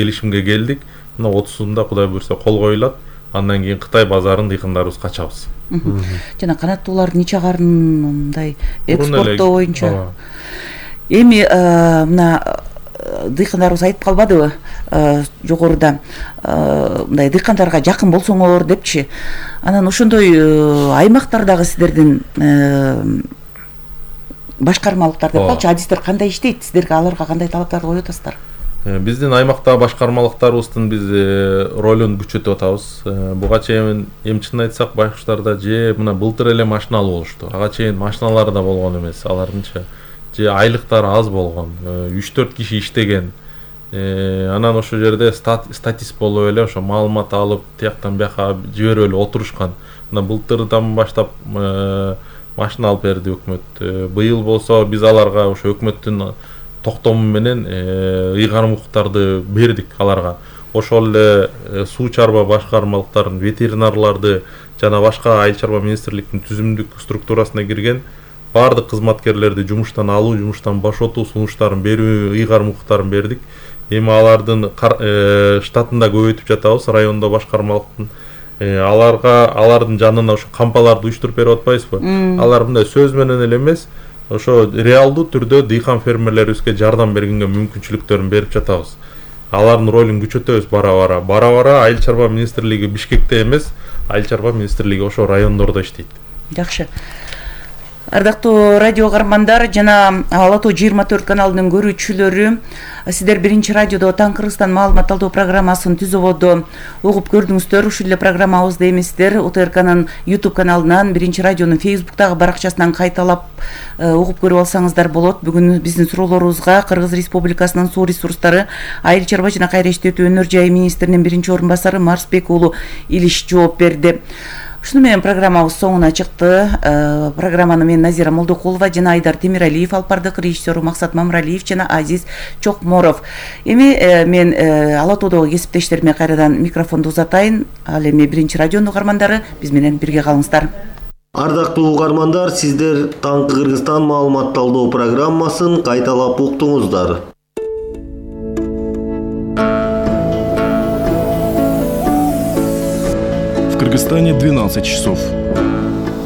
келишимге келдик. Мына 30-сунда Кудай буйрса кол коюлат. Андан кийин Кытай базарын дыйкандарыбыз качабыз. Жана канаттуулар нече карын мындай экспорттоо боюнча. Эми мына дыйкандарыбыз айтып калбадыбы жогоруда мындай дыйкандарга жакын болсоңор депчи. Анан ошондой аймактардагы сиздердин башкармалыктар деп калчу адистер кандай иштейт? Сиздерге аларга кандай талаптарды коюп атасыздар? Биздин аймактагы башкармалыктарыбыздын биз ролун күчөтүп атабыз. Буга чейин эмчинин айтсак байкуштарда же мына былтыр эле машиналуу болушту. Ага чейин машиналар да болгон эмес. Алардынча же айлыктары аз болгон. 3-4 киши иштеген. Анан ошол жерде статист болуп эле ошо маалымат алып, тияктан бияка жиберип эле отурушкан. Мына былтырдан баштап машина алып берди өкмөт. Быйыл болсо биз аларга ошо өкмөттүн токтому менен ыйгарым укуктарды бердик аларга. Ошол эле суу чарба башкармалыктарын, ветеринарларды жана башка айыл чарба министрликтин түзүмдүк структурасына кирген бардык кызматкерлерди жумуштан алуу, жумуштан бошотуу сунуштарын берүү, ыйгарым укуктарын бердик. Эми алардын штатын да көбөйтүп жатабыз, райондо башкармалыктын. Алардын жанына ошо кампаларды уюштуруп берип атпайбызбы? Алар мындай сөз менен эле эмес, ошо реалдуу түрдө дыйкан фермерлерибизге жардам бергенге мүмкүнчүлүктөрүн берип жатабыз. Алардын ролун күчөтөбүз бара-бара. Айыл чарба министрлиги Бишкекте эмес, айыл чарба министрлиги ошо райондордо иштейт. Жакшы. Ардактуу радио каармандар жана Ала Тоо 24 каналынын көрүүчүлөрү, сиздер Биринчи радиодо Таң Кыргызстан маалымат алуу программасын түз ободо угуп көрдүңүздөр. Ушул эле программабызды эми сиздер УТРКнын YouTube каналынан, Биринчи радионун Facebooktагы баракчасынан кайталап угуп көрүп алсаңыздар болот. Бүгүн биздин суроолорубузга Кыргыз Республикасынын суу ресурстары, айыл чарба жана кайра иштетүү өнөр жайы министринин биринчи орун басары Марсбек уулу Илиш жооп берди. Ушуну менен программабыз соңуна чыкты. Программаны мен Назира Молдокулова жана Айдар Темиралиев алып бардык, режиссеру Максат Мамралиев жана Азиз Чокморов. Эми мен Ала Тоодогу кесиптештериме кайрадан микрофонду узатайын. Ал эми Биринчи радионун угармандары биз менен бирге калыңыздар. Ардактуу угармандар, сиздер Таң Кыргызстан маалыматталдоо программасын кайталап уктуңуздар. В Кыргызстане 12 часов.